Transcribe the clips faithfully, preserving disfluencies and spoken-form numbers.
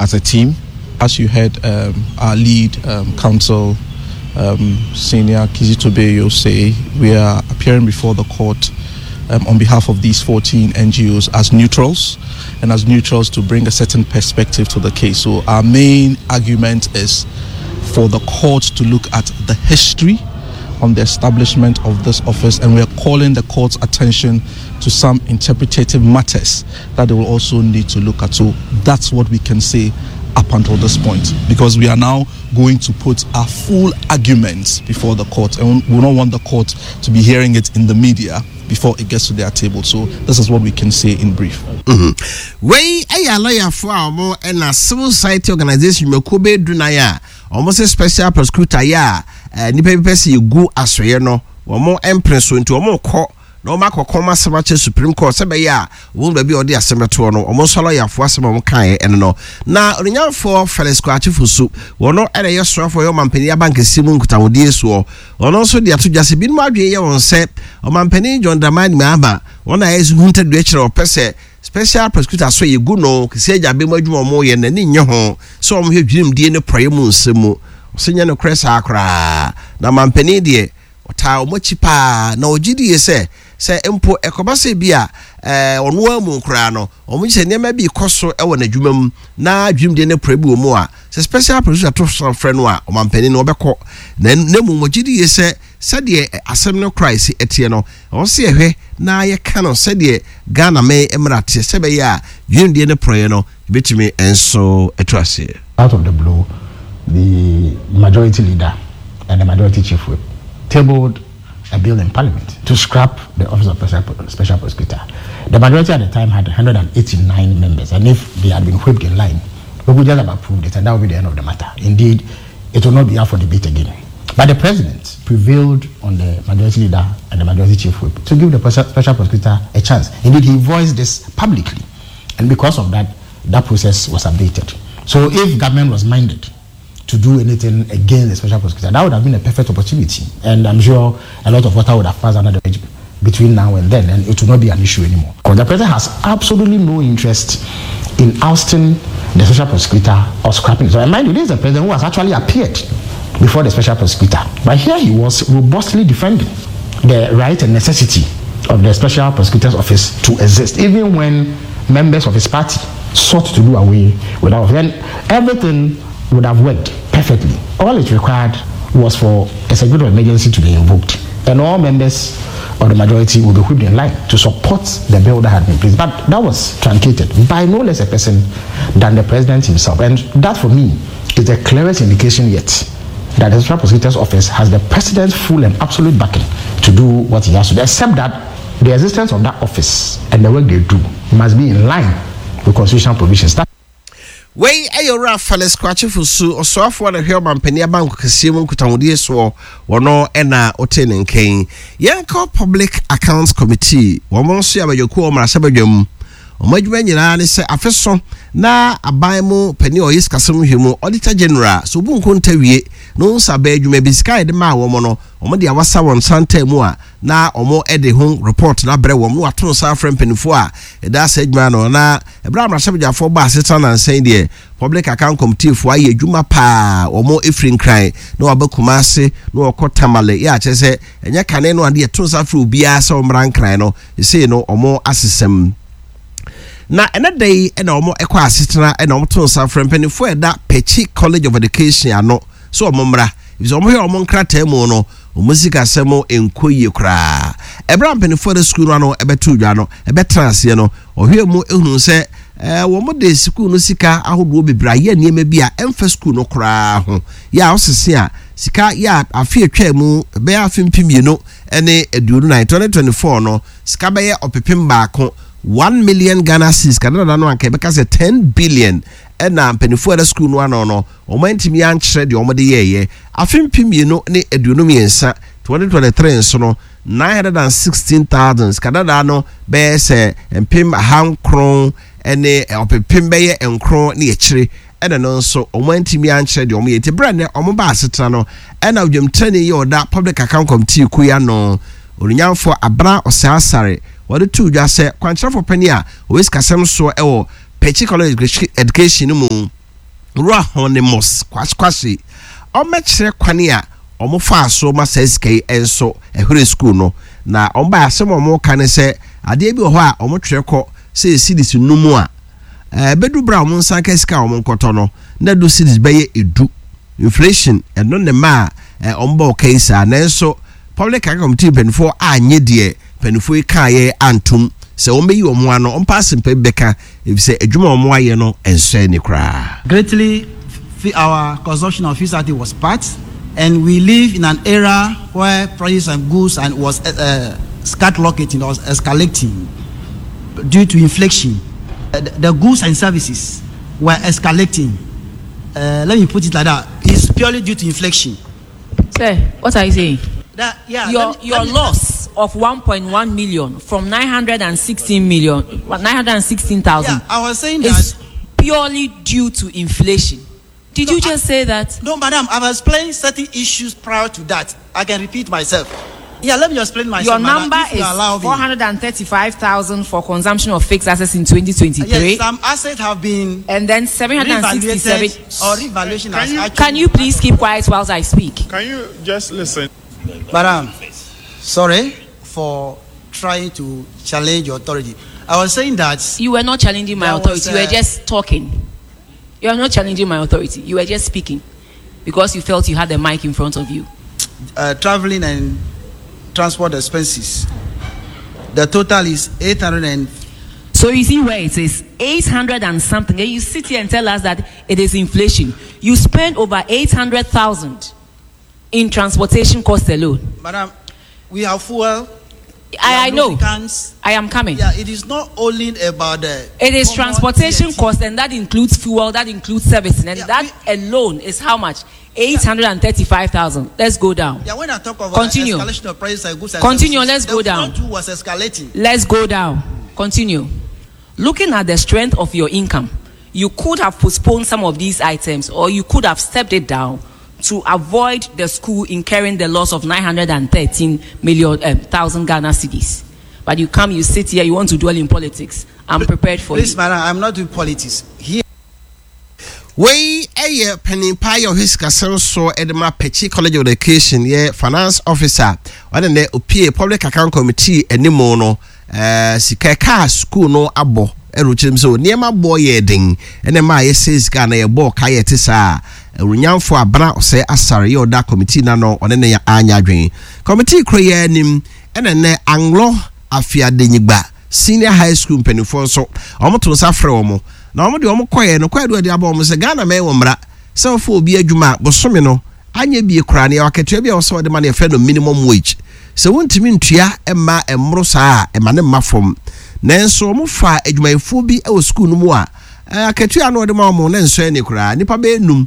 as a team. As you heard um, our lead um, counsel, um, Senior Kizito Beyuo, say, we are appearing before the court um, on behalf of these fourteen N G Os as neutrals, and as neutrals to bring a certain perspective to the case. So our main argument is for the court to look at the history on the establishment of this office, and we are calling the court's attention to some interpretative matters that they will also need to look at. So that's what we can say up until this point, because we are now going to put our full arguments before the court, and we don't want the court to be hearing it in the media before it gets to their table. So this is what we can say in brief. Mm-hmm. Wei ɛyɛ alɔyafoɔ a wɔn ɛna civil society organisation mako bɛyɛ du nan a wɔn sɛ special prosecutor yɛ a ɛɛ nipa bi pɛ sɛ yɛgu asɔeɛ no, wɔn mpere so, nti wɔn kɔ na wɔn akɔkɔ wɔn asɛm akyɛ Supreme Court sɛ bɛyɛ a wɔn baabi a wɔde asɛm bɛtoɔ no. Wɔn nso alɔyafoɔ asɛm a wɔn kaeɛ ɛno no. Na onyafoɔ Felix Kwakye Fosu, wɔn ɛna ɛyɛ soafoɔ yɛ ɔmampanin abankɛseɛ mu nkitahodie soɔ, ɔno nso de ato dwa sɛ binom adwene yɛ wɔn sɛ ɔmampanin John Dramani Mahama wɔn a ɛyɛ huntadua kyerɛ ɔpɛ sɛ special prosecutor so yɛgu no Kissi Agyebeng mu adwuma ɔmo yɛ n'ani nye ho sɛ ɔmo hwɛ dwirimdie ne porɔeɛ mu nsɛm mu. Ɔsɛ nyɛ nokorɛ saa koraa, na mampanin deɛ ɔtaa ɔmo akyi paa, na ɔgye die sɛ sɛ mpo ɛkɔba sɛ bi a ɛɛ ɔno amu koraa no, ɔmo sɛ nneɛma bi kɔ so ɛwɔ n'adwuma mu na dwirimdie ne porɔeɛ bi wɔ mu a, sɛ special prosecutor to so frɛ no a, ɔmampanin no ɔbɛkɔ. Na na mu ɔgye die sɛ sɛdeɛ asɛm no kora esi ɛteɛ no, ɔwɔ sɛ yɛhwɛ na yɛka no sɛdeɛ Ghana mɛ mmara teɛ, sɛ bɛyɛ a dwirimdie ne porɔeɛ no ebɛtumi nso ɛto aseɛ. Out of the blue, the majority leader and the majority chief whip tabled a bill in Parliament to scrap the Office of Special, Special Prosecutor. The majority at the time had one hundred eighty-nine members, and if they had been whipped in line, we would just have approved it, and that would be the end of the matter. Indeed, it will not be up for debate again. But the president prevailed on the majority leader and the majority chief whip to give the special prosecutor a chance. Indeed, he voiced this publicly. And because of that, that process was updated. So if government was minded to do anything against the special prosecutor, that would have been a perfect opportunity. And I'm sure a lot of water would have passed under the bridge between now and then, and it will not be an issue anymore. Because the president has absolutely no interest in ousting the special prosecutor or scrapping it. So, and mind you, this is the president who has actually appeared before the special prosecutor. But here he was robustly defending the right and necessity of the special prosecutor's office to exist, even when members of his party sought to do away with that. Then everything would have worked perfectly. All it required was for a certificate of emergency to be invoked, and all members of the majority would be whipped in line to support the bill that had been placed. But that was truncated by no less a person than the president himself. And that, for me, is the clearest indication yet that the special prosecutor's office has the president's full and absolute backing to do what he has to do, except that the existence of that office and the work they do must be in line with constitutional provisions. That Wei ɛyɛ Owura Felix Kwakye Fosu, ɔsoafoɔ na hwɛ ɔmampanin abanko kɛseɛ mu nkutahodie soɔ, wɔno ɛna ɔte ne nkɛn. Yɛnkɔ Public Accounts Committee. Wɔn nso yɛ abadwakuo wɔ mmarahyɛbadwam. Wɔn adwuma nyinaa ne sɛ afe so na aban mu panin a ɔyɛ sikasɛm hwɛ mu, Auditor General, so obu nkonta wie na wɔn nsa bɛɛ adwuma bi sika a yɛde maa wɔn no, wɔn de awasa wɔn nsa ntam mu a, na wɔn de ho report na abrɛ wɔn na wɔato nsa afrɛ mpanimfoɔ a ɛda asa adwuma no. Na ɛberɛ a mmarahyɛbadwafoɔ ba asetena nansan deɛ, Public Account Committee foɔ ayɛ adwuma paa. Wɔn efiri Nkran na wɔaba Kumase na wɔkɔ Tamale yɛ akyerɛ sɛ ɛnyɛ kane no adeɛ to nsa afrɛ obiara sɛ wɔmmra Nkran no. Esei no wɔn asesɛm na ɛnɛ da yi ɛna wɔn ɛkɔ asetena ɛna wɔn to nsa frɛ mpanimfoɔ a ɛda Pekyi College of Education ano so wɔn mmra, efisɛ wɔn hwɛ wɔn nkrataa mu no, wɔn sikasɛm nkɔ yie koraa. Ɛberɛ a mpanimfoɔ de sukuu no ano ɛbɛto dwa no, ɛbɛtena aseɛ no, ɔhwɛ mu ehunu sɛ ɛɛ wɔn de sukuu no sika ahodoɔ bebree ayɛ nneɛma bi a ɛmfa sukuu no koraa ho yɛ a ɔsese a sika yɛ a afe atwa mu bɛyɛ afe mpem mmienu ɛne aduonu nan, twenty twenty four no, sika bɛyɛ ɔpepem baako, one million Ghana cedis, kadada no anka ɛbɛka sɛ ten billion, ɛna mpanimfoɔ a ɛda sukuu no ano no wɔn antumi ankyerɛ deɛ wɔn de yɛɛyɛ. Afe mpem mmienu ne aduonu mmiɛnsa, twenty twenty three nso no, nine hundred and sixteen thousand, sika dada no bɛyɛ sɛ mpem ahankron ɛne ɔpepem bɛyɛ nkron ne akyire, ɛna no nso wɔn antumi ankyerɛ deɛ wɔn yɛ. Nti berɛ nɛ wɔn ba asetena no, ɛna dwamtirani yɛ ɔda Public Account Committee kuya no, Onyanfo Abena Ɔsɛasare, wɔde to dwa sɛ kwankyerɛfo panyin a ɔwɔ sikasɛm soɔ ɛwɔ Pekyi College Education no mu. Owura Honimus Kwaskwasi ɔmmɛkyerɛ kwane a wɔn faa so ma saa sika yi nso ɛhwere sukuu no. Na wɔn baeɛ, asɛm a wɔn ka ne sɛ adeɛ bi wɔ hɔ a wɔn twerɛ kɔ sɛ cedis num a, ɛbɛdu berɛ a wɔn nsa ka sika a wɔn nkɔtɔ no na ɛdu cedis bɛyɛ edu. Inflation ɛno ne ma a wɔn bɔ ɔka yi saa. Nanso Public Account Committee mpanimfoɔ anyɛ deɛ mpanimfoɔ yi kaeɛ antom sɛ wɔn bɛyi wɔn ano, wɔn pa asɛmpa bi bɛka efisɛ adwuma a wɔn ayɛ no nsɔ ani koraa. Greatly, our consumption of fixed asset was part, and we live in an era where prices and goods and was, uh, skyrocketing or escalating due to inflation. Uh, the, the goods and services were escalating. Uh, let me put it like that. It's purely due to inflation. Sir, what are you saying? That, yeah, Your, let me, your let me, loss of one point one million from nine hundred and sixteen million, nine hundred and sixteen thousand. Yeah, I was saying is that purely due to inflation. Did No, you just I, say that? No, madam, I've explained certain issues prior to that. I can repeat myself. Yeah, let me explain myself. Your madam, number if you is allow me. four hundred and thirty-five thousand for consumption of fixed assets in twenty twenty-three. Yes, some assets have been And then seven hundred and sixty-seven. revaluated or revaluation Can has you actually Can you please keep quiet whilst I speak? Can you just listen? Madam, sorry for trying to challenge your authority. I was saying that You were not challenging my There was, authority. You were uh, just talking. You are not challenging my authority. You were just speaking because you felt you had the mic in front of you. Uh, traveling and transport expenses. The total is eight hundred and. So you see where it is, eight hundred and something. And you sit here and tell us that it is inflation. You spend over eight hundred thousand in transportation costs alone. Madam, we have fuel. I, I know. Lubricants. I am coming. Yeah, it is not only about the. It is common transportation T N T. cost, and that includes fuel, that includes servicing, and Yeah, that we, alone is how much? eight hundred and thirty-five thousand. Let's go down. Yeah, when I talk about Continue. escalation of prices and goods and Continue. services, Let's go the down. front two was escalating. Let's go down. Continue. Looking at the strength of your income, you could have postponed some of these items, or you could have stepped it down to avoid the school incurring the loss of nine hundred and thirteen million, um, thousand Ghana cedis. But you come, you sit here, you want to dwell in politics. I'm prepared for Please, you. madam, I'm not doing politics. Here. Wei ɛyɛ panimpa yɛ ɔhwɛ sikasɛm so ɛde ma Pekyi College of Education yɛ finance officer ɔne nɛ opie Public Account Committee anim no, ɛɛ sika kaa school no abɔ ɛna okyerɛ mu sɛ nneɛma bɔ yɛ den ɛna mmaa yɛsɛ sika na yɛbɔ ɔka yɛ te saa. Awunyamfo Abena Ɔsɛ Asare yɛ ɔda committee na no ɔne ne anya adwene committee kuro yɛ anim. Ɛna nɛ Anglo Afiadenyigba Senior High School mpanimfoɔ nso wɔn to nsa frɛ wɔn na wɔn de wɔn kɔɛ no kɔɛ do ɛde abɔ wɔn sɛ Ghana mɛn wɔ mmara sɛ wɔfɔ obi adwuma a bosome no anyɛ bie koraa ne akatua bi a wɔsɛ wɔde ma no yɛfrɛ no minimum wage. Sɛ wɔntumi ntua mma mmoro saa a ɛma ne mma fam. Nanso wɔn fa adwumayɛfoɔ bi wɔ sukuu no mu a akatua no wɔde ma wɔn ne nsɔ ani koraa. Nipa bɛyɛ num.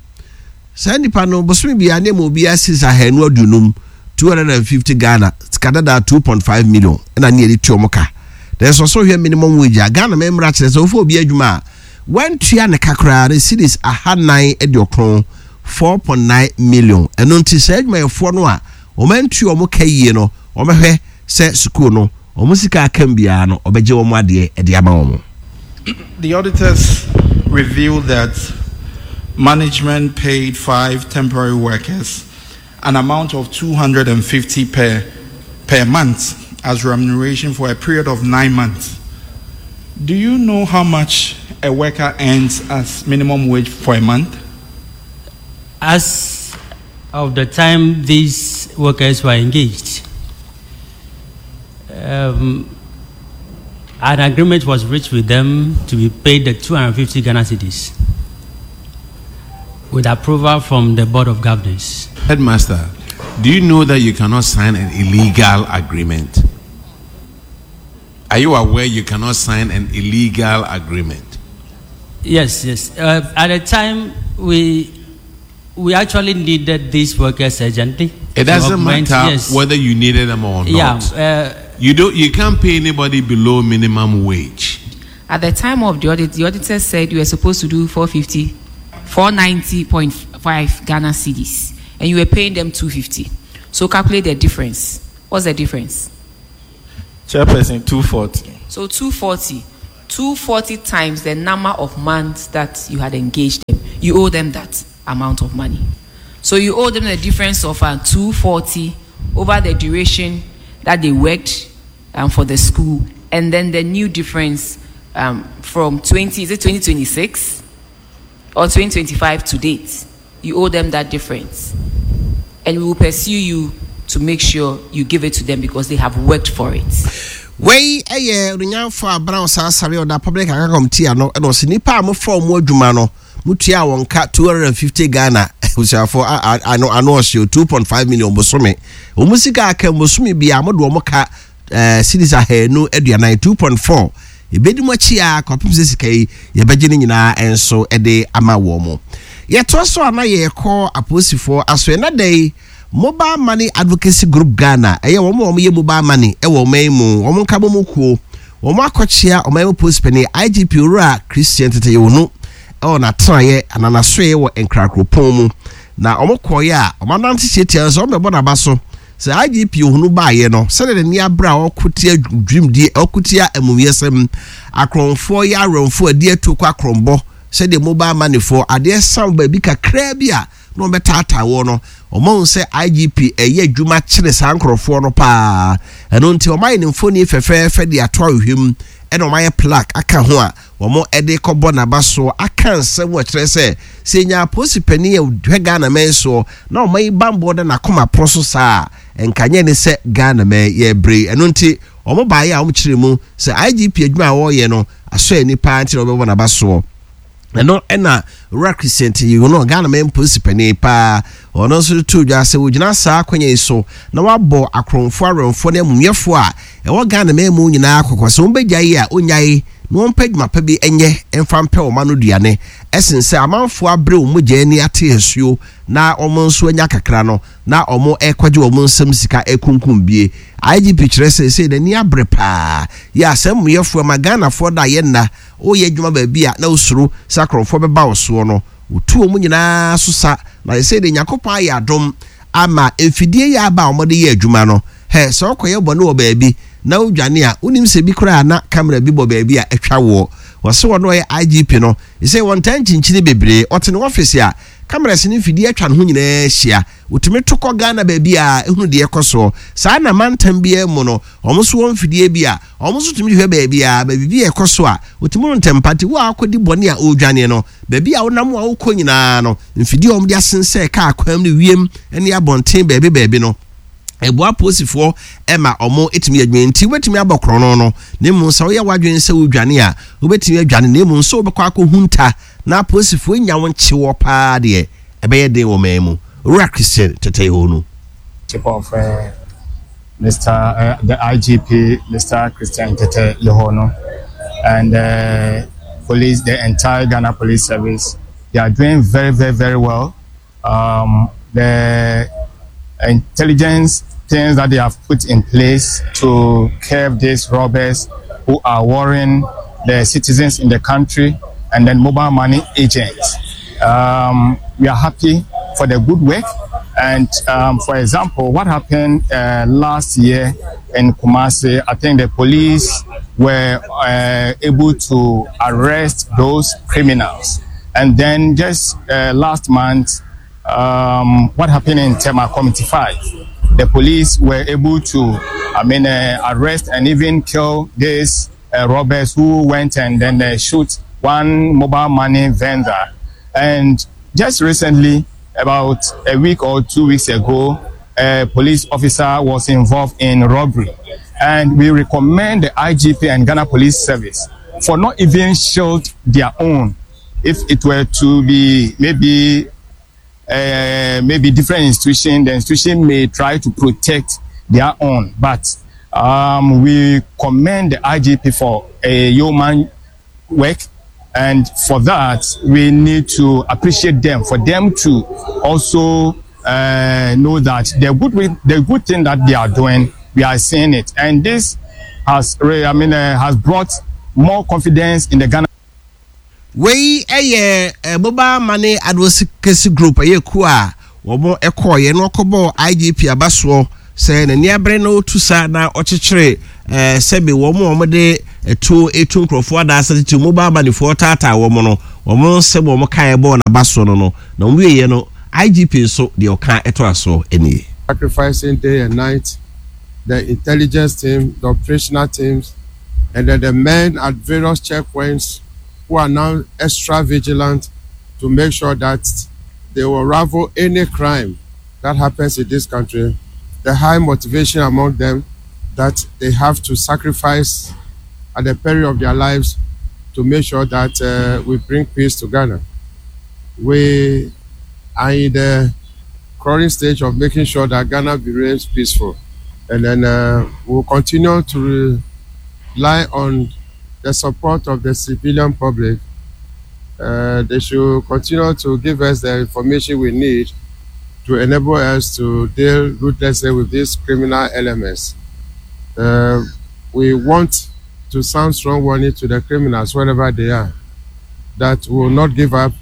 Saa nipa no bosome biara ne mu obiara sisi ahanu aduonum, two hundred and fifty Ghana sika dada, two point five million ɛna ne yɛde tua wɔn ka. Nanso ɔsɔ hwɛ minimum wage a Ghana mɛmra kyerɛ sɛ wofa obi adwuma a wɔntua ne kakra ne cedis ahanan aduokron, four point nine million. Ɛno nti saa adwumayɛfoɔ no a wɔn antua wɔn ka yie no, wɔbɛhwɛ sɛ sukuu no wɔn sika akam biara no ɔbɛgye wɔn adeɛ ɛde ama wɔn. The auditors revealed that management paid five temporary workers an amount of two hundred and fifty per, per month as remuneration for a period of nine months. Do you know how much a worker earns as minimum wage for a month? As of the time these workers were engaged, um, an agreement was reached with them to be paid the two hundred fifty Ghana cedis with approval from the Board of Governors. Headmaster, do you know that you cannot sign an illegal agreement? Are you aware you cannot sign an illegal agreement? Yes, yes. Uh, at the time, we, we actually needed these workers urgently. It doesn't augment, matter yes. whether you needed them or Yeah, not. uh, you don't. You can't pay anybody below minimum wage. At the time of the audit, the auditor said you were supposed to do four fifty, four ninety point five Ghana cedis, and you were paying them two fifty. So calculate the difference. What's the difference? Chairperson, two forty. So two forty. two forty times the number of months that you had engaged them. You owe them that amount of money. So you owe them the difference of uh, two forty over the duration that they worked um, for the school, and then the new difference um, from twenty, is it twenty twenty-six or twenty twenty-five to date? You owe them that difference. And we will pursue you to make sure you give it to them because they have worked for it. Wei ɛyɛ onyamfo abran saa sare ɔda public account committee ano ɛna ɔsɛ nipa a mofa ɔmo adwuma no mutua wɔn ka two hundred and fifty Ghana abusuafo ano ano ɔhyɛ two point five million bosome wɔn sika aka bosome bi a mo de wɔn ka ɛɛ cedis ahanu aduanan two point four ebedi mu akyi a kɔpem sɛ sika yi yɛbɛgye ne nyinaa nso ɛde ama wɔn mo. Yɛtoa so ana yɛkɔ apolisifoɔ aso ɛna da yi Mobile Money Advocacy Group Ghana ɛyɛ wɔn a wɔyɛ mobile money ɛwɔ ɔman mu wɔn nka bɔ mu kuo wɔn akɔkyea ɔman mu polisi panin I G P Owura Christian Tetteh Yohuno ɛwɔ n'atenaeɛ ananasoeɛ wɔ Nkrakuropɔn mu na wɔn kɔɔeɛ a wɔn anante tietia nso wɔn bɛbɔ n'aba so sɛ I G P Yohuno baayɛ no sɛdeɛ n'ani abere a ɔkotia dwumdie ɔkotia amumuyɛsɛm akorɔmfoɔ yɛ awɛmfoɔ adi atu kɔ akorɔmbɔ sɛdeɛ mobile money foɔ adeɛ san baabi kakraa bi a na wɔn bɛtaataa wɔ no wɔn sɛ I G P ɛyɛ adwuma kyerɛ saa nkorɔfoɔ no paa ɛno nti wɔn ayɛ ne mfoni fɛfɛɛfɛ de ato ahwehwɛ mu ɛna wɔn ayɛ plaque aka ho a wɔn ɛde kɔbɔ n'aba so aka nsɛm wɔ kyerɛ sɛ sɛ nya apolisi panin a ɔhwɛ Ghana mɛn soɔ na wɔn ayi bambɔ da n'akoma pono so saa nkanyɛ ne sɛ Ghana mɛn yɛ bere ɛno nti wɔn baayɛ a wɔn kyerɛ mu sɛ I G P adwuma a wɔreyɛ no asɔ ani paa nti na wɔbɛbɔ n'aba soɔ. Ɛno ɛna Owura Christian Tetteh Yohuno Ghana mɛn polisi panin paa ɔno nso to dwa sɛ wogyina saa akonnwa yi so na wabɔ akorɔmfoɔ awɛmfoɔ ne amumuyɛfoɔ a ɛwɔ Ghana mɛn mu nyinaa kɔkɔ sɛ wɔn bɛgya yi a onyae na wɔn pɛ dwuma pa bi nyɛ mfa mpɛ wɔn ano duane ɛsen sɛ amanfoɔ abere wɔn mogya ani ate asuo na wɔn nso anya kakra no na wɔn ɛkɔgye wɔn nsam sika ekunkum bie. I G P kyerɛ sɛ sɛ n'ani abere paa yɛ asɛm muyɛfoɔ ma Ghanafoɔ da yɛ nna woyɛ adwuma baabi a na wosoro sɛ akorɔmfoɔ bɛba wo soɔ no wotu wɔn nyinaa so sa na sɛ de Nyankopɔn ayɛ adom ama mfidie yɛ aba a wɔde yɛ adwuma no hɛ sɛ wokɔyɛ bɔne wɔ baabi na wodwane a wonim sɛ bi koraa na kamera bi bɔ baabi a atwa woɔ wɔse wɔn ɔyɛ I G P no sɛ wɔntaa nkyinkyini bebree ɔte ne office a kamera si ne mfidie atwa ne ho nyinaa ahyia wotumi to kɔ Ghana baabi a ehunu deɛ ɛkɔ soɔ saa na mantam biara mu no wɔn nso wɔn mfidie bi a wɔn nso tumi hwɛ baabi a baabi bi a ɛkɔ so a wotumi no ntɛmpa nti wo a akɔdi bɔne a ɔredwane no baabi a wonam a wokɔ nyinaa no mfidie a wɔn de asensɛn kaa kwan ne wiem ne abɔnten baabi baabi no ɛboa apolisifoɔ ɛma wɔn etumi adwene nti wobɛtumi abɔ korɔno no na emu sɛ woyɛ w'adwene sɛ wodwane a wobɛtumi adwane na emu nso wobɛkɔ akɔhunta na apolisifoɔ nya wɔn kyewɔ paa deɛ ɛbɛyɛ den wɔ man mu. Owura Christian Tetteh Yohuno. Chief of, uh, Mister Uh, the I G P, Mister Christian Tetteh Yohuno, and, uh, police, the entire Ghana Police Service, they are doing very, very, very well. Um, the intelligence things that they have put in place to curb these robbers who are worrying the citizens in the country, and then mobile money agents. Um, we are happy for the good work. And, um, for example, what happened, uh, last year in Kumasi, I think the police were, uh, able to arrest those criminals. And then just, uh, last month, um, what happened in Tema Community five, the police were able to, I mean, uh, arrest and even kill these, uh, robbers who went and then, uh, shoot one mobile money vendor. And just recently, about a week or two weeks ago, a police officer was involved in robbery. And we recommend the I G P and Ghana Police Service for not even shield their own. If it were to be maybe, uh, maybe different institution, the institution may try to protect their own. But, um, we commend the I G P for a yeoman work. And for that, we need to appreciate them, for them to also, uh, know that the good, the good thing that they are doing, we are seeing it. And this has, I mean, uh, has brought more confidence in the Ghana. Wei eye mobile money advocacy group eye ku a wo ekoye no okobo I G P abaso se na ni abre na otu sa na ochichire eh sebe wo mo mo de Ɛtuo etu nkurɔfoɔ adaasa tete mobile money foɔ taataa wɔn no, wɔn nsɛm wɔn kaeɛ bɔɔ n'aba soɔ no no na wɔn wieɛ no, I G P nso deɛ ɔka ɛto asoɔ nie. Sacrificing day and night, the intelligence team, the operational teams, and then the men at various checkpoints who are now extra vigilant to make sure that they will unravel any crime that happens in this country. The high motivation among them that they have to sacrifice at the peril of their lives to make sure that uh, we bring peace to Ghana. We are in the crawling stage of making sure that Ghana remains peaceful. And then uh, we'll continue to rely on the support of the civilian public. Uh, they should continue to give us the information we need to enable us to deal ruthlessly with these criminal elements. Uh, we want to sound strong warning to the criminals wherever they are that we will not give up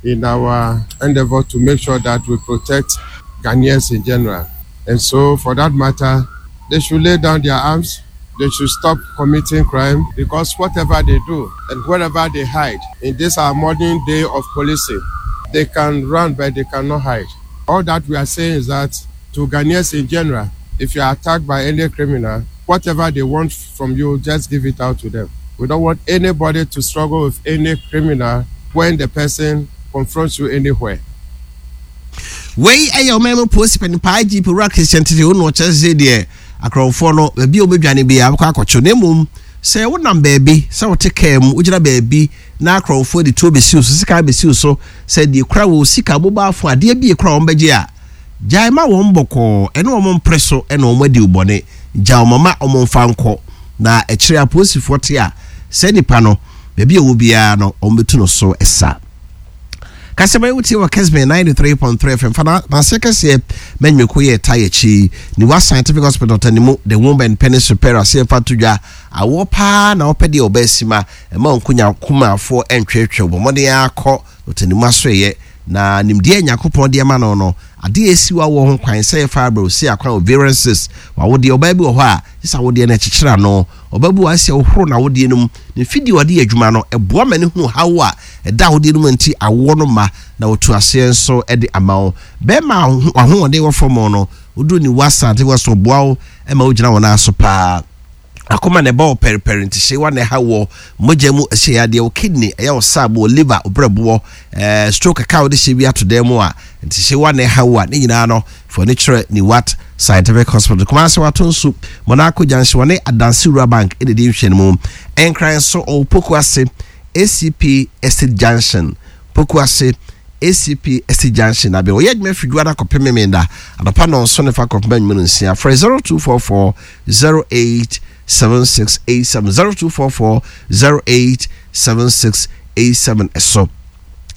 in our endeavor to make sure that we protect Ghanaians in general. And so, for that matter, they should lay down their arms. They should stop committing crime because whatever they do and wherever they hide in this our modern day of policing, they can run but they cannot hide. All that we are saying is that to Ghanaians in general, if you are attacked by any criminal, whatever they want from you, just give it out to them. We don't want anybody to struggle with any criminal when the person confronts you anywhere. Wei ɛyɛ ɔman mu polisi panyin I G P Wura Christian Tetteh wo na ɔkyerɛ sɛ deɛ akorɔmfoɔ no baabi a wɔbɛdwane bi abɛkɔ akɔkyew, na mmom sɛ wonam baabi, sɛ wote kaa mu, wogyina baabi na akorɔmfoɔ de tuo bɛsi wo so, sika bɛsi wo so, sɛ deɛ kura wɔ sika mobile phone adeɛ bi ekura wɔn bɛgye a, gyae ma wɔn bɔkɔɔ, ɛne wɔn mpere so ɛna wɔn adi bɔne. Gya wɔn ma wɔn mfa nkɔ na akyire apolisifoɔ te a sɛ nipa no baabi a ɛwɔ biara no, wɔn bɛtu no so ɛsa. Kasɛmɛ wotie wɔ Kesben ninety-three point three F M fa n'ase kɛseɛ mɛnweko yɛ ta yɛkyi Niwa Scientific Hospital tanimu, the womb and penis repair aseɛ fa to dwa awoɔ paa na wɔpɛ deɛ ɔbɛ si ma ɛma nkonya kumafoɔ ɛntwetwe bɔ mmɔden akɔ ɔtanimu asoɛyɛ na nimdeɛ Nyankopɔn deɛ ma no no adeɛ esi wa wɔ ho kwan sɛ yɛfa abrɛ osi akwan ovarian cyst wawodeɛ. Ɔbaa bi wɔ hɔ a sisa awodeɛ no akyekyere ano, ɔbaa bi wɔ asi ahohoro na awodeɛ no mu ne mfidie ɔde yɛ adwuma no ɛboa ma ne hu haw a ɛda awodeɛ no mu nti awoɔ no ma na wɔtu aseɛ nso de ama wo. Bɛrima ahoɔden wɔ fam no, woduru ne wasa ate wɔ so boa wo ma wogyina wɔn aso paa. Akoma na ɛbɔ wo pɛrepɛre nti hyɛ wa na ɛha wɔ mogya mu ɛhyɛ yadeɛ, wo kidney ɛyɛ wo saabo, wo liver, wo brɛboɔ, ɛɛ stroke kaka a wode hyɛ bi ato dan mu a nti hyɛ wa na ɛha wo a, ne nyinaa no fo ani kyerɛ Niwat Scientific Hospital. Kumase wato nso Monaco Junction, wɔne Adansi Rural Bank ɛna di nhwɛ no mu. Nkran so ɔwɔ Poku Ase A C P Estate Junction, Poku Ase A C P Estate Junction na bɛn. Ɔyɛ adwuma firi Duada kɔpem Memenda anɔpa nɔnso ne fa kɔpem anwummerɛ nsia. Frɛ zero two four four zero eight seven six eight seven, zero two four four zero eight seven six eight seven. Ɛso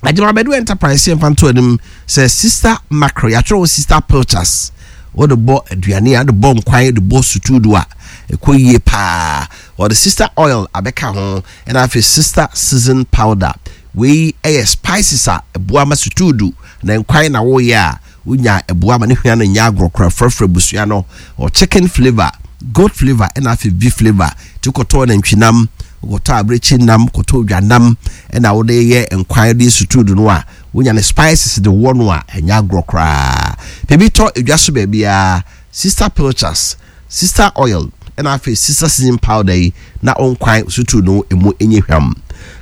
Agyemabɛdu Enterprise yɛmfa nto anim sɛ Sister Macro yɛatwerɛ wɔ Sister Pilchards, wode bɔ aduane a, wode bɔ nkwan, wode bɔ sutuudu a ɛkɔ yie paa. Wɔde Sister Oil abɛka ho, ɛna afei Sister Season Powder. Wei ɛyɛ spices a ɛboa ma sutuudu na nkwan na woyɛ a wonya ɛboa ma ne hwea no nyɛ agorɔ kora. Frɛfrɛ busua no ɔ chicken flavour, goat flavour, ɛna afei beef flavour. Nti wokɔtɔɔ nantwinam, wokɔtɔ abirekyi nam, kɔtɔ odwanam ɛna wode yɛ nkwan de sutuudu no a, wonya ne spices de wɔ no a ɛnyɛ agorɔ koraa. Baabi tɔ edwa so baabiara Sister Pilchards, Sister Oil, ɛna afei Sister Season Powder yi na ɔnkwan sutu no emu enye hwam.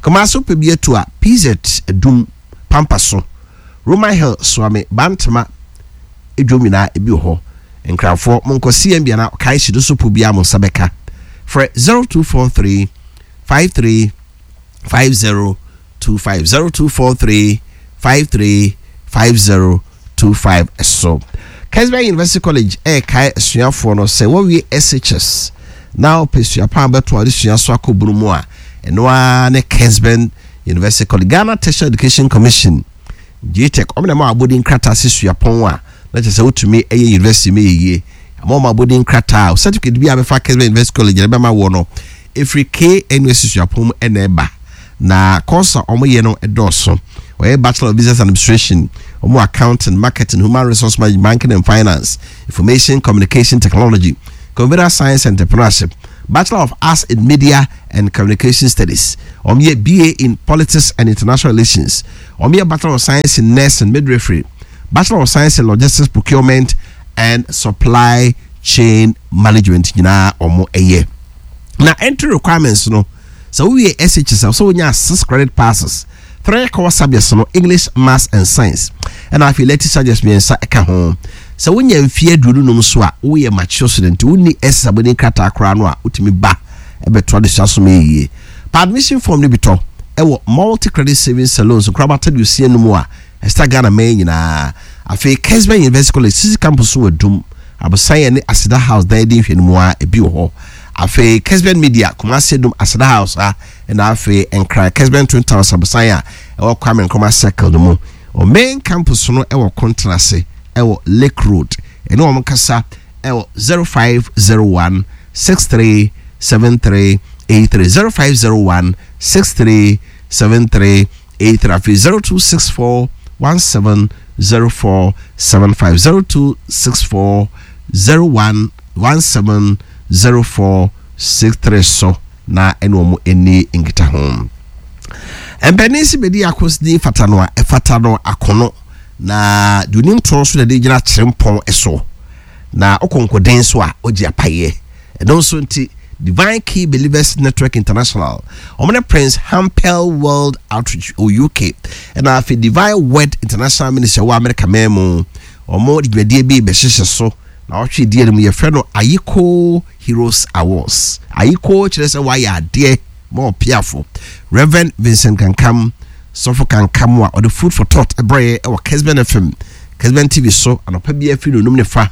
Kamaso pɛ bi atu a, P Z Adum Pampa so, Roman Hill, Suame, Bantama edwom nyinaa ebi wɔ hɔ. Nkranfoɔ monkɔ C M B ana kae hyido so po biara mo nsa bɛka. Frɛ zero two four three five three five zero two five, zero two four three five three five zero two five. Ɛso Kesben University College ɛɛkae asuafoɔ no sɛ wɔwie S H S na wopɛ suapɔn a bɛto a wɔde sua so akɔ bunu mu a, ɛno ara ne Kesben University College. Ghana Tertiary Education Commission, GTEC, ɔmo na ɛma abɔden nkrataa sɛ suapɔn a na kyerɛ sɛ wotumi ɛyɛ university mu yɛ yie ama ɔmo abɔden nkrataa. Certificate bi a bɛfa Kesben University College na ɛbɛma wɔ no ɛfiri K N U S suapɔn mu ɛna ɛba. Na course a ɔmo yɛ no ɛdɔɔso. Ɔyɛ Bachelor of Business Administration, ɔmo accounting, marketing, human resource management, banking and finance, information communication technology, computer science and entrepreneurship, Bachelor of Arts in Media and Communication Studies. Wɔn yɛ B A in Politics and International Relations. Wɔn yɛ Bachelor of Science in Nursing Midwifery, Bachelor of Science in Logistics, Procurement and Supply Chain Management nyinaa wɔn yɛ. Na entry requirements no, sɛ wowie S H S a, sɛ wonya six credit passes, three core subjects no, English, Maths and Science, ɛna afei elective subjects mmiɛnsa ɛka ho. Sɛ wonya mfeɛ aduonu num so a, woyɛ mature student, wonni S S abɔden krataa koraa no a, wotumi ba ɛbɛto adesua so ma yie pa. Admission form no bi tɔ ɛwɔ Multi Credit Savings Salons nkorabata de osia no mu a ɛsita Ghana mɛn nyinaa. Afei Kesben University College sisi campus so wɔ Dum Abosan yɛ ne Aseda House dan di nhwɛ no mu a ebi wɔ hɔ. Afei Kesben Media, Kumasi Dum Aseda House a, ɛna afei Nkran Kesben Twin Towers Abosan a ɛwɔ Kwame Nkrumah Circle no mu. O main campus no ɛwɔ Kontrase ɛwɔ Lake Road. Ɛne wɔn kasa ɛwɔ zero five zero one six three seven three eight three, zero five zero one six three seven three eight three, afei zero two six four one seven zero four seven five, zero two six four zero one one seven zero four six three so na ɛne wɔn ani nkita ho. Mpanin si bɛdi akosidi fata no a ɛfata no akono na deɛ onim toɔ so na de gyina kyerɛmpɔn so na ɔkɔnkɔden so a ɔgye apayɛ. Ɛno nso nti Divine Key Believers Network International, wɔn ne Prince Hampel World Outreach o U K, ɛna afei Divine Word International Ministry wɔ America man mu, wɔn de dwumadie bi bɛhyehyɛ so na ɔtwe die no mu. Yɛfrɛ no Ayiko Heroes Awards. Ayiko kyerɛ sɛ wayɛ adeɛ ma ɔpiafo. Reverend Vincent Kankam, sɔfo Kankam a ɔde Food for Thought ɛbrɛ ɛwɔ Kesben F M, Kesben T V so anɔpa bi afiri no onum ne fa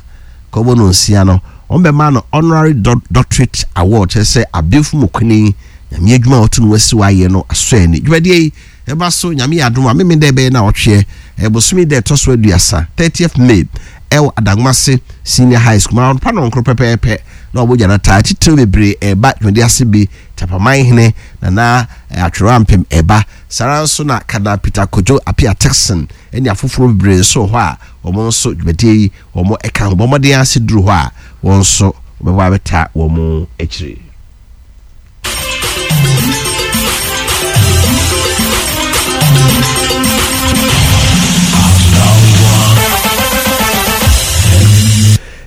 kɔbɔ no nsia no, wɔn bɛma no honorary doctorate award, kyerɛ sɛ abɛnfo mu kuni Nyame adwuma a wɔto no wasi wayɛ no asɔ ani. Dwumadie yi ɛba so, Nyame yɛ adom a, meme dɛ ɛbɛyɛ na ɔtweɛ ɛbosome dɛ ɛtɔ so aduasa, thirtieth May, ɛwɔ Adangomase Senior High School ma ɔpa no nkoro pɛpɛɛpɛ na ɔbɔ gyana taa titiriw bebree ɛba dwumadie ase bi. Tapaman hene Nana Atwerɛ Ampem ɛba saa nso, na Kana Peter Kojo Apia Texan ɛne afoforɔ bebree nso wɔ hɔ a wɔn nso dwumadie yi wɔn ɛka ho. Bɔ mmɔden ase duru hɔ a, wɔn nso wɔbɛbɔ abɛta wɔn akyire.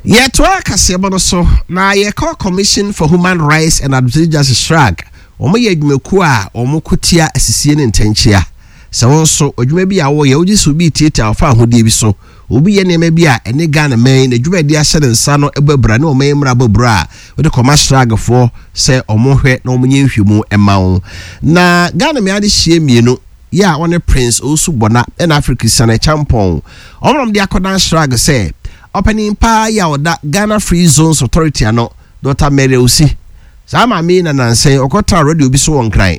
Yɛtoa kaseɛbɔ no so na yɛkɔ Commission for Human Rights and Administrative Justice, CHRAJ. Wɔn yɛ adwumakuo a wɔn ko tia asisie ne ntɛnkyea. Sɛ wɔn nso adwuma bi a wɔyɛ, wogye sɛ obi tietia ɔfa ahodie bi so, obi yɛ nneɛma bi a ɛne Ghana man na adwuma a ahyɛ ne nsa no bɔ abira ne ɔman mmara bɔ abira a, wɔde kɔma CHRAJfoɔ sɛ wɔn hwɛ na wɔn nyɛ nhwɛmu ɛma wɔn. Na Ghana mmea de hyia mmienu yɛ a wɔne Prince Owusu Bɔna ɛna Africa Christian Champɔn, wɔn nam de akɔdan CHRAJ sɛ ɔpanin paa yi a ɔda Ghana Free Zones Authority ano, Doctor Mary Awusi. Saa maame yi na nansɛn ɔkɔtena radio bi so wɔ Nkran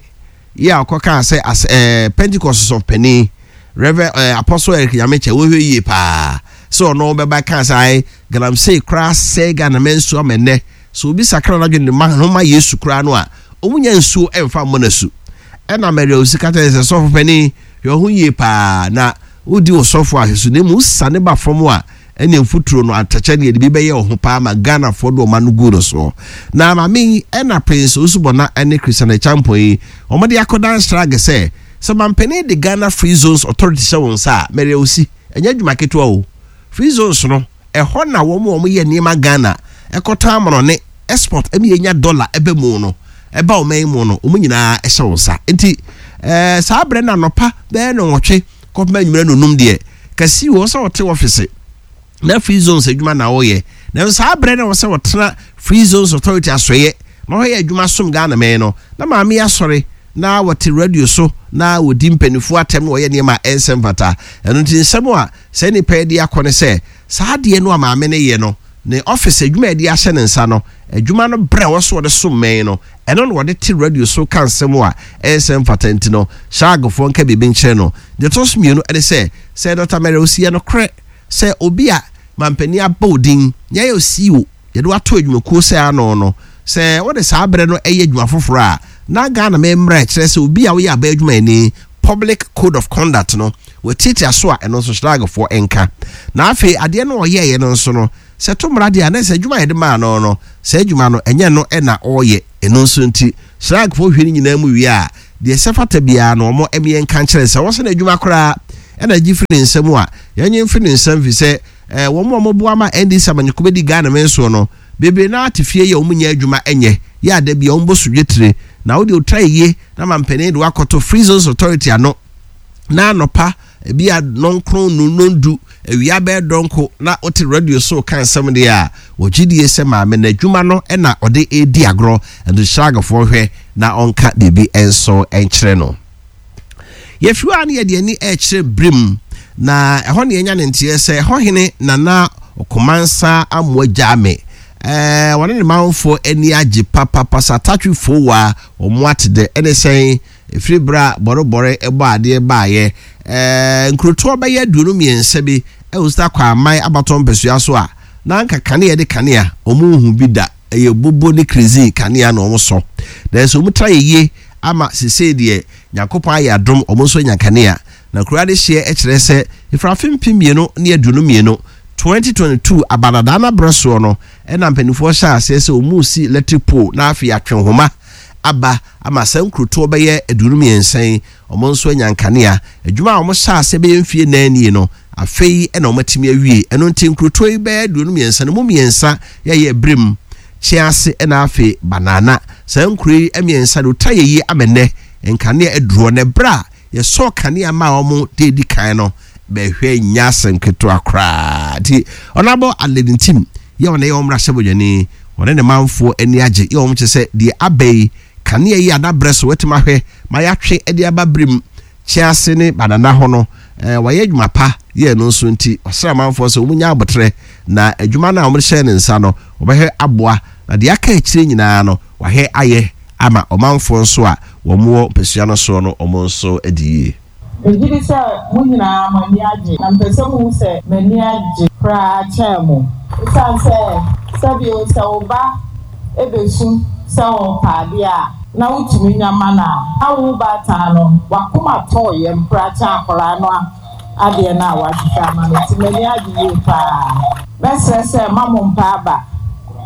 yi a ɔkɔkaa sɛ as ɛɛ Pentecost sɔfo panin Reverend ɛɛ Apostle Eric Nyamekyɛ, wɔhwɛ yie paa sɛ ɔno bɛba kaa sɛ ayi galamsey koraa sɛe Ghana mɛ nsuo ama nnɛ so obi sakra n'adwene de ma ho ma Yesu koraa no a, ɔmu nya nsuo ɛmfa mmɔ n'asu. Ɛna Mary Awusi ka kyerɛ sɛ sɔfo panin, hwɛ ho yie paa na wodi wɔ sɔfo ahwɛ so na emu sane ba fam a, ɛne mfuturo no atɛkyɛ ne yɛde bi bɛyɛ wɔ ho paa ma Ghanafoɔ de ɔma no gu no soɔ. Na maame yi ɛna Prince Osubɔna ɛne Christian Acheampong yi, wɔde akɔdan CHRAJ sɛ sɛ mampanin de Ghana Free Zones Authority hyɛ wɔn nsa a, Mary Awusi, ɛnyɛ adwuma ketewa o. Free zones no, ɛhɔ na wɔn a wɔyɛ nneɛma Ghana ɛkɔtɔn amanɔne, export, ɛmi yɛnya dollar ɛbɛ mu no, ɛba ɔman yi mu no, wɔn nyinaa ɛhyɛ wɔn nsa. Nti ɛɛ saa abirɛ na anɔpa bɛyɛ no nwɔtwe kɔpem anwummerɛ no num deɛ kasi wɔ sɛ ɔte ɔfisi na free zones adwuma na ɔyɛ. Na saa abirɛ na wɔsɛ wɔtena Free Zones Authority asɔyɛ na ɔyɛ adwuma som Ghana mɛn no, na maame asɔre na wɔte radio so na wɔdi mpanimfoɔ atɛm na wɔyɛ nneɛma a ɛnsɛ mfata. Ɛno nti nsɛm a saa nipa yi de akɔ ne sɛ saa adeɛ no a maame no yɛ no, ne office adwuma a yɛde ahyɛ ne nsa no, adwuma no brɛ wɔ so wɔde som mɛn no, ɛno na wɔde te radio so ka nsɛm a ɛnsɛ mfata. Nti no CHRAJfoɔ nka biribi nkyerɛ no. Deɛ ɛtɔ so mmienu ɛne sɛ sɛ Doctor Mary Awusi, yɛ nokorɛ sɛ obi a mampanin abɔ odin yɛyɛ C E O, yɛde wato adwumakuo sɛ ano no, sɛ wɔde saa berɛ no ɛyɛ adwuma foforɔ a, na Ghana mmerɛ kyerɛ sɛ obi a woyɛ aba adwumayɛni, public code of conduct no, wɔtiatia so a, ɛno nso CHRAJfoɔ nka. Na afei adeɛ no ɔyɛɛyɛ no nso no, sɛ to mmara deɛ a, na sɛ adwuma a yɛde maa no no, sɛ adwuma no ɛnyɛ no ɛna ɔreyɛ. Ɛno nso nti CHRAJ foɔ hwɛ no nyinaa mu wie a, deɛ sɛ fata biara no ɔmo ɛmeɛ nka nkyerɛ sɛ wɔsɛ n'adwuma koraa ɛna gye firi ne nsam a yɛnye mfiri ne nsam fi sɛ ɛɛ wɔn a wɔboa ma N D C amanyɔkuo bɛdi Ghana mɛ nsoɔ no bebree naa te fie yɛ wɔn nyɛ adwuma ɛnyɛ yɛ ada bi a wɔn bɔ so dwetire na wɔde otra yie na ma mpanin de wakɔto Free Zones Authority ano na anɔpa ebi a nɔnkron nonondu awia bɛɛ dɔnko na wote radio so ka nsɛm deɛ a wɔgye die sɛ maame n'adwuma no ɛna ɔde edi agorɔ. Ɛno CHRAJ foɔ hwɛ na ɔnka biribi nso nkyerɛ no. Yɛfiri hɔ a ne yɛde ani ɛrekyerɛ Birim na ɛhɔ ne yɛnya ne nteɛ sɛ ɛhɔ hene Nana Ɔkomansa Amoa Gyame ɛɛ wɔne ne manfoɔ ani agye papapa sa atatwefoɔ wa wɔn ate dɛ ɛne sɛn ɛfiri berɛ a bɔrebɔre ɛbɔ adeɛ baayɛ ɛɛ nkurotoɔ bɛyɛ aduonu mmiɛnsa bi ɛwɔ sita Kwaman abatɔ mpɛsua so a na anka kanea de kanea wɔn nhu bi da, ɛyɛ bobo ne kerosene kanea na wɔn sɔ, nanso wɔn tra yɛ yie ama sesei deɛ Nyankopɔn ayɛ adom wɔn nso anya kanea. Na kuro adehyeɛ kyerɛ sɛ efirafe mpem mmienu ne aduonu mmienu twenty twenty-two abadadaa n'abrɛ soɔ no ɛna mpanimfoɔ hyɛ aseɛ sɛ wɔn si electric pole na afei atwe nhoma aba ama saa nkurotoɔ bɛyɛ aduonu mmiɛnsa yi wɔn nso anya nkanea. Adwuma a wɔn hyɛ aseɛ bɛyɛ mfie nan nie no, afei ɛna wɔn atumi awie. Ɛno nti nkurotoɔ yi bɛyɛ aduonu mmiɛnsa no mu mmiɛnsa yɛyɛ Birim, Kyease ɛna afei Banana. Saa nkuro yi mmiɛnsa de ota yɛ yie amɛnɛ nkanea aduro na ɛberɛ a yɛsɔɔ kanea ma wɔn de edi kan no bɛhwɛ nya asɛm ketewa koraa. Nti Ɔnabɔ Adelaide Ntim yɛ wɔn ɛyɛ wɔn mmarahyɛbadwani, wɔne ne manfoɔ ani agye yɛ wɔn kyerɛ sɛ deɛ aba yi kanea yi adabrɛ so wɔatumi ahwɛ ma yɛatwe de aba Birim, Kyease ne Banana hɔ no ɛɛ wɔayɛ adwuma pa yɛ no nso. Nti ɔsrɛ amanfoɔ sɛ wɔn nya abotrɛ na adwuma no a wɔn hyɛ ne nsa no wɔbɛhwɛ aboa na deɛ aka akyire nyinaa no wahwɛ ayɛ ama ɔmanfoɔ nso a wɔn wɔ mpɛsua no soɔ no wɔn nso adi yie. Megye di sɛ mo nyinaa mo ani agye na mpɛ sɛ muhu sɛ m'ani agye koraa kyɛn mo. Esiane sɛ sɛbio sɛ wo ba ebesu sɛ ɔpɛ adeɛ a na wotumi nya ma no a, na wo baatan no wakoma tɔɔ yam koraa kyɛn akwaraa no adeɛ no a wahwehwɛ ama no. Nti m'ani agye yie paa. Mɛsrɛ sɛ ma mo mpa aba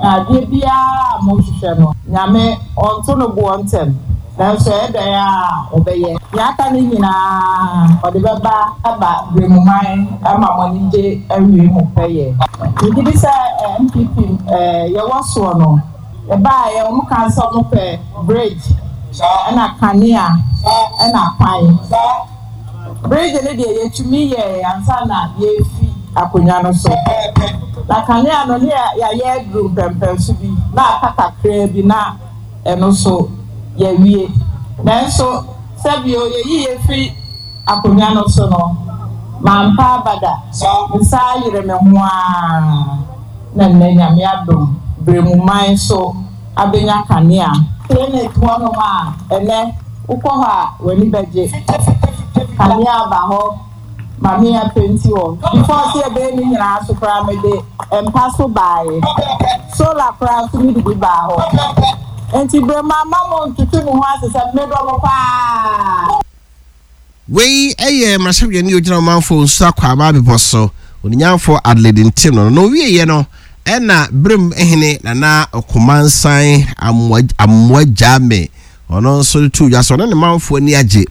na adeɛ biara a mohwehwɛ no, Nyame ɔnto no boɔ ntɛm, nanso ɛyɛ dɛn a ɔbɛyɛ. Nea aka no nyinaa ɔde bɛba aba Bremuman ama mo ani gye awie mu pɛyɛ. Megye di sɛ N P P yɛwɔ soɔ no yɛbaeɛ wɔn ka sɛ wɔn pɛ bridge ɛna kanea ɛna kwan. Bridge no deɛ yɛtumi yɛ ansa na yɛfi akonnwa no so, na kanea no ne yɛayɛ aduru mpɛmpɛnso bi na aka kakraa bi na ɛno so yɛwie, nanso sɛbio yɛyi yɛfiri akonnwa no so no mampa abada nsa ayere me ho aa na nnɛ Nyame adom Bremuman so abɛnya kanea. Clinic hɔnom a ɛnɛ wokɔ hɔ a w'ani bɛgye, kanea aba hɔ, maame apɛnti hɔ. Before sɛ yɛbɛyɛ ne nyinaa so koraa mede mpa so baeɛ, solar koraa so mede bi baa hɔ. Nti Brema ma mo ntutu mo ho ase sɛ medɔ mo paa. Wei yɛ mmarahyɛbadwani ogyina ɔmanfoɔ Nsu Akwaaba bepɔ so, oninyamfoɔ Adelaide Ntim no na owieɛ no ɛna Berem hene Nana Ɔkomansan Amoa Gyame ɔno nso de to dwa sɛ ɔne ne manfoɔ ani agye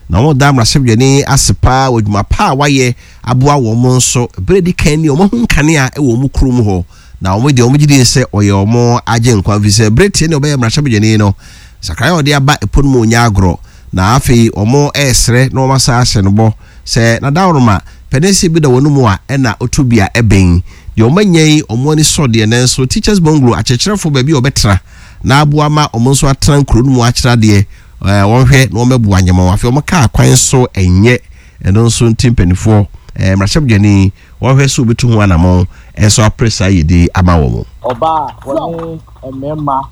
na wɔn da mmarahyɛbadwani ase paa wɔ adwuma pa a wayɛ aboa wɔn nso. Berɛ di kan ni wɔn ahu nkanea wɔ wɔn kurom hɔ na wɔn deɛ wɔn gye di sɛ ɔyɛ wɔn agye nkwa fi sɛ berɛ tie ne ɔbɛyɛ mmarahyɛbadwani no sakraeɛ a ɔde aba ɛpo no mu ɔnya agorɔ. Na afei wɔn ɛresrɛ na wɔn asa ahyɛ no bɔ sɛ nadaworoma pɛnɛnsi bi da wɔn mu a ɛna otu bi a ɛbɛn deɛ wɔn anya yi wɔn ani sɔ deɛ. Nanso teachers bungalow, akyerɛkyerɛfo baabi a wɔbɛtena na aboa ma wɔn nso atena nkuro no mu akyerɛ adeɛ, ɛɛ wɔn hwɛ na wɔn bɛboa nyɛma wɔn. Afei wɔn kaa kwan so ɛnyɛ ɛno nso nti mpanimfoɔ ɛɛ mmarahyɛbadwani wɔhwɛ so obetu ho anamɔn ɛnso apere saa yɛdi ama wɔn. Ɔbaa a wɔne mmarima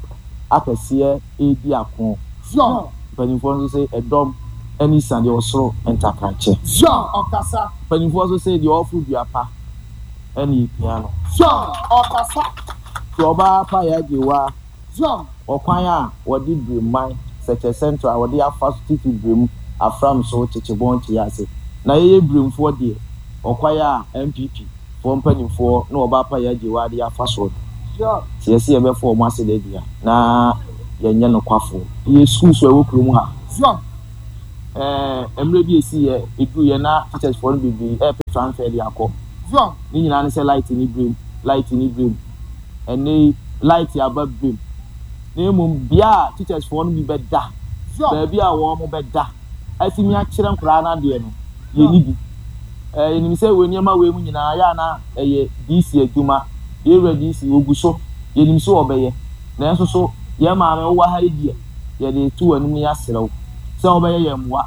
akɛseɛ redi ako. Mpanimfoɔ nso sɛ ɛdɔm ani sa deɛ ɔsoro ntakrankyɛ. Mpanimfoɔ nso sɛ deɛ ɔforo dua pa ɛne epia no. Tí ɔbaa pa yɛ agye wa ɔkwan a wɔde Birimman Sɛkyɛ Central a wɔde afa so titi Birim Afram so Kyekyebɔn kyi ase na yɛyɛ Birimfoɔ deɛ ɔkwan a N P P foɔ mpanimfoɔ na ɔbaa pa yɛ agye wa de afa so no tí yɛsi yɛbɛfo wɔn ase de dua na Yɛnyɛ nokwafoɔ. Yɛ schools a ɛwɔ kurom ha. Ɛɛ mmerɛ bi esi yɛ edu yɛ na teachers foɔ no bebree ɛɛpɛ transfer de akɔ. Ne nyinaa ne sɛ light ni brem, light ni brem. Ɛnɛ yi light aba brem. Na mmom bea a teachers foɔ no bi bɛda, baabi a wɔn bɛda atumi akyerɛ nkwadaa no adeɛ no, yɛni bi. Ɛɛ yɛnim sɛ wɔ nneɛma wei mu nyinaa yɛ ana ɛyɛ D C adwuma. Yɛwura D C ogu so, yɛnim sɛ ɔbɛyɛ, nanso so yɛn maame wowɔ ha yi deɛ, yɛde to w'anim ne yɛasrɛ wo sɛ wobɛyɛ yɛn mmoa.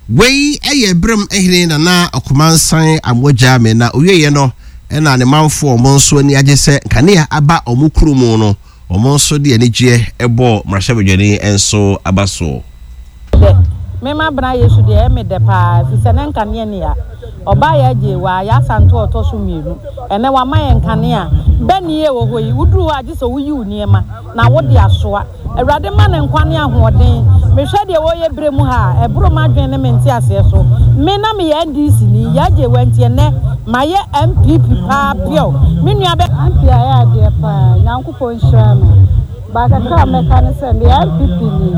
Wei yɛ Berem hene Nana Ɔkomansan Amogyame, na owieɛ no ɛna ne manfoɔ ɔmo nso ani agye sɛ nkanea aba ɔmo kuro mu no, ɔmo nso de anigyeɛ ɛbɔ mmarahyɛbadwani nso aba soɔ. Dɛ mema bena Yesu deɛ, ɛyɛ me dɛ paa, ɛfiri sɛ ne nkanea ni a ɔbaa yɛ agye wɔ a yɛasanto a ɔtɔ so mmienu. Ɛnɛ wama yɛ nkanea bɛni yɛ wɔ hɔ yi. Woduru hɔ a, gye sɛ woyi wo nneɛma na wode asoa. Awurade ma ne nkwa ne ahoɔden. Mehwɛ deɛ wɔyɛ berɛ mu ha a, ɛboro m'adwene ne me nte aseɛ so. Me na meyɛ N D C ni, yɛagye wɔ nti ɛnɛ mayɛ N P P paa piɔ me nua bɛ. M P ayɛ adeɛ paa, Nyankopɔn nhyira no. Baakakra a mɛka ne sɛ meyɛ N P P ni.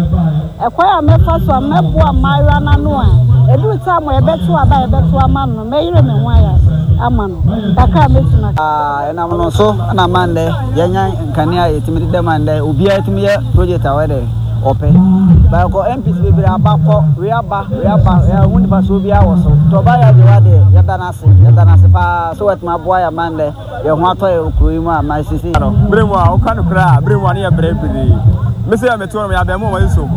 Ɛkwan a mɛfa so a mɛboa mmaayewa n'ano a ɛduru time a yɛbɛto aba a yɛbɛto ama no no, mɛyere me ho ayɛ ama no kakra a mɛtumi aka. Ɛnam no so na ma ndɛ yɛnya nkanea a yɛtumi deda ma ndɛ obiara tumi yɛ project a wɔyɛ ɔpɛ baakɔ. M Ps bebree aba kɔ, wei aba, wei aba, ɛho nifa so obiara wɔ so nti ɔba yɛ agye wa deɛ, yɛda no ase, yɛda no ase paa so wɔatumi aboa yɛ ma ndɛ yɛn ho atɔ yɛ kuro yi mu a ma sisi. Bere mu a woka no koraa, bere mu a ne yɛ brɛ bebree. Me sɛ mete hɔ no, yɛabɛn mu a wɔyɛ so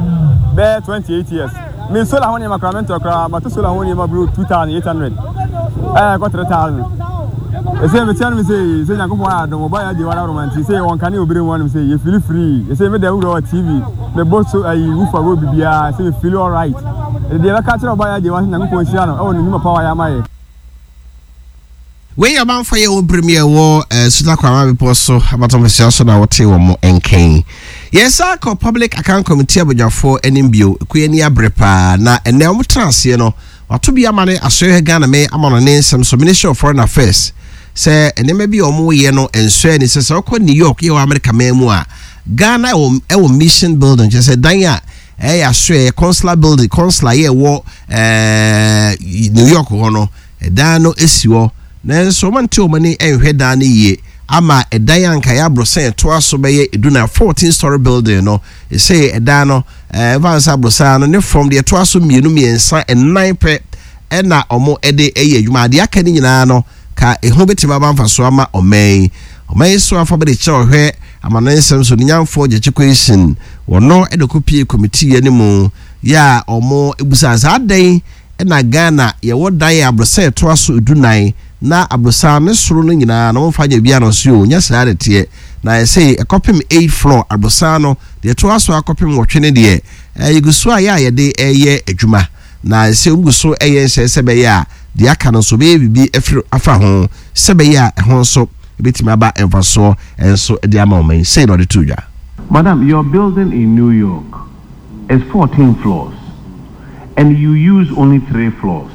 bɛyɛ twenty-eight years. Me solar ho nneɛma koraa mentɔ koraa, mato solar ho nneɛma bro two thousand eight hundred, ɛɛ kɔ three thousand. Ɛsɛ metia no me sɛ sɛ Nyankopɔn ayɛ adom, ɔba yɛ agye wara roma nti sɛ wɔn kane obere mu anom sɛ yɛ feel free. Ɛsɛ me da wura wɔ T V, mebɔ so ayi wufa wɔ biribiara sɛ me feel alright. Deɛ bɛka kyerɛ ɔba yɛ agye wa sɛ Nyankopɔn hyira no ɛwɔ ne nnwuma pa wayɛ ama yɛ. Wei yɛ ɔmanfo yɛ wɔ berem yɛ wɔ eh, Suta Kwama bepɔ so abatɔmpɛsua so na wɔte wɔ mo nkɛn. Yɛsa kɔ Public Account Committee abadwafoɔ anim bio. Ɛkɔ ani abere paa na ɛnɛ wɔn tena aseɛ no, wato bi ama ne asɔrehwɛ Ghana me ama no ne nsɛm so, Ministry of Foreign Affairs, sɛ nneɛma bi a wɔyɛ no nsɔɛ ni sɛ sɛ wɔkɔ New York yɛ wɔ America man mu a, Ghana ɛwɔ ɛwɔ mission building, kyerɛ sɛ dan a ɛyɛ asɔɛ consular building, consular yɛ ɛwɔ ɛɛ New York hɔ no, ɛdan no esi hɔ, nanso wɔn nte wɔn ani nhwɛ dan no yie ama ɛdan a nka yɛ aborosan ɛtoa so bɛyɛ edu na fourteen story building no, ɛsɛ ɛdan no ɛɛ ɛfa nsa aborosan no ne fam deɛ ɛtoa so mmienu, mmiɛnsa, ɛnan pɛ ɛna wɔn ɛde ɛyɛ adwuma. Adeɛ aka ne nyinaa no ka eho bɛtumi aba mfaso ama ɔman yi. Ɔman yi so afa bɛde kyerɛ ɔhwɛ amano nsɛm so ne nyamfoɔ Gyakye Quayson, wɔno ɛde kɔ pie committee yɛ ne mu yɛ a wɔn ebusa saa adan ɛna Ghana yɛwɔ dan a aborosan ɛtoa so edu nan na aborosan ne soro no nyinaa na wɔmfa nyɛ bi ano so o, nyɛ saa de teɛ na yɛsɛ ɛkɔpem eight floor aborosan no deɛ ɛtoa so akɔpem wɔtwe ne deɛ ɛyɛ gu so a yɛ a yɛde ɛyɛ adwuma na ɛsɛ ogu so ɛyɛ nhyɛ sɛ bɛyɛ a deɛ aka no nso bɛyɛ biribi afiri afa ho sɛ bɛyɛ a ɛho nso ebɛtumi aba mfasoɔ nso de ama ɔman yi. Sei na ɔde to dwa. Madam, your building in New York is fourteen floors and you use only three floors.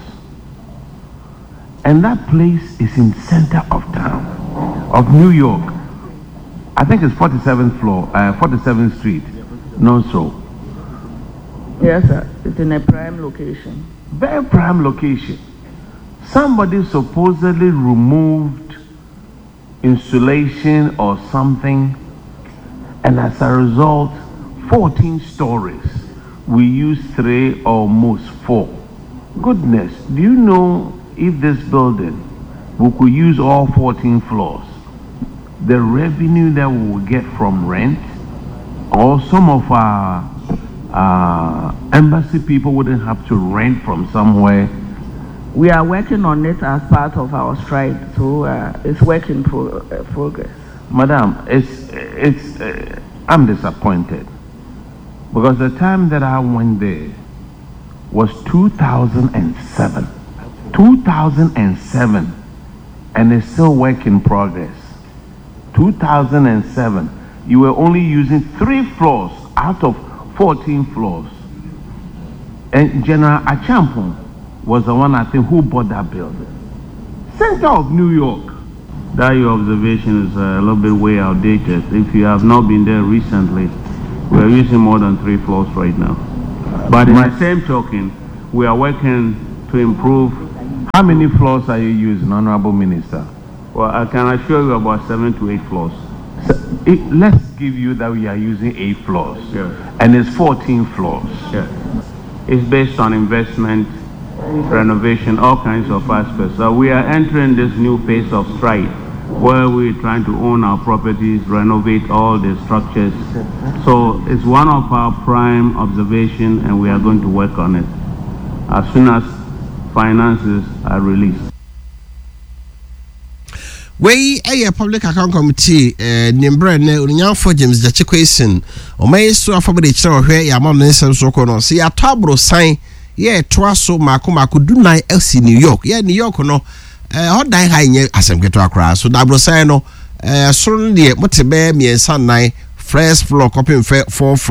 And that place is in center of town of New York. I think it's forty-seventh floor, uh, forty-seventh Street. No, so. Yes, sir. It's in a prime location. Very prime location. Somebody supposedly removed insulation or something, and as a result, fourteen stories. We use three, almost four. Goodness, do you know if this building, we could use all fourteen floors, the revenue that we will get from rent, or some of our uh, embassy people wouldn't have to rent from somewhere? We are working on it as part of our stride, so uh, it's work in pro- uh, progress. Madam, it's, it's, uh, I'm disappointed because the time that I went there was two thousand seven. two thousand seven, and it's still work in progress. two thousand seven, you were only using three floors out of fourteen floors. And General Acheampong was the one, I think, who bought that building. Center of New York. That your observation is a little bit way outdated. If you have not been there recently, we are using more than three floors right now. But in the same token, we are working to improve. How many floors are you using, Honorable Minister? Well, I can assure you about seven to eight floors. So, it, let's give you that we are using eight floors. Yeah. And it's fourteen floors. Yeah. It's based on investment, renovation, all kinds of aspects. So we are entering this new phase of stride where we're trying to own our properties, renovate all the structures. So it's one of our prime observation, and we are going to work on it as soon as finances are released. Wei ɛyɛ Public Account Committee eh, ne mmerɛ nɛ onyanfo James Gyakye Quayson ɔma yi so afɔ de kyerɛ ɔhwɛ yɛ ama no ne nsɛm so kɔ no sɛ yɛatɔ aborosan yɛ ɛtoa so maako maako dunan asi New York. Yɛ New York no, ɛhɔ dan ha nyɛ asɛm ketewa koraa so da aborosan no, ɛɛ soro no deɛ mote bɛyɛ mmiɛnsa nnan, first floor kɔpem fɛ fourth.